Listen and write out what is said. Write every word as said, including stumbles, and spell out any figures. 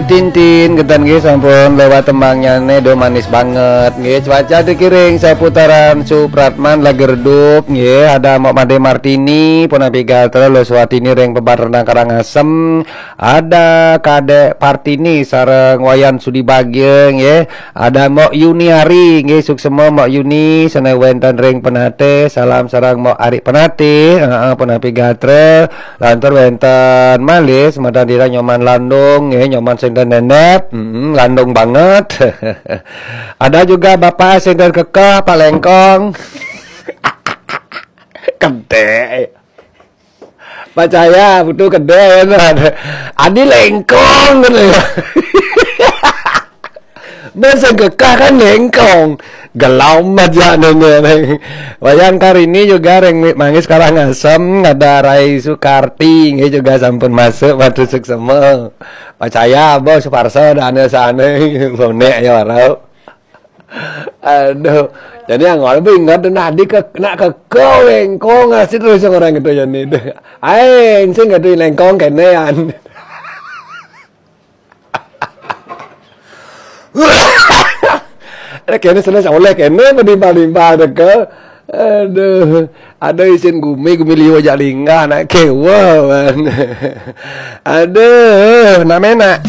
Tintin, ketan nggih sampun lewat tembangnyané, do manis banget nggih. Cuaca dikiring seputaran Supratman Lagerdup nggih. Ada Mok Made Martini, punapi gatra Lo Suwatini ring Pebat Renang Karangasem. Ada Kadek Partini sareng Wayan Sudi Bagja nggih. Ada Mok Yuniari nggih, suksema Mok Yuni, sané wénten ring Penatih. Salam sareng Mok Ari Penatih. Heeh, punapi gatra. Lantur wénten malih semeton titiang Nyoman Landung nggih, Nyoman sing ten nendep, mm, landung banget. Ada juga Bapak sing ten kekeh, Pak Lengkong. Gedé. Percaya, butuh gedé, bener. Adi Lengkong, gitu ya. Masa kekeh kan Lengkong. Gelam aja nanya. Wayang Karini juga ring Manggis Karangasem, ada Rai Sukarti, nggih, juga sampun masuk, matur suksema. Percaya, Bos Suparso, dana sana, bonek ya, warau. Aduh. Jadi yang awal bu ingat, nah, di ke, nak kekeh Lengkong, ngasih terus orang itu, jadi. Aing sing ngerti Lengkong kenean. Ada kene sana oleh kene, menimpal-nimpal teka. Aduh, ada isin gumi, gumi liwa jak linggah, nak kewa, man. Aduh, namena.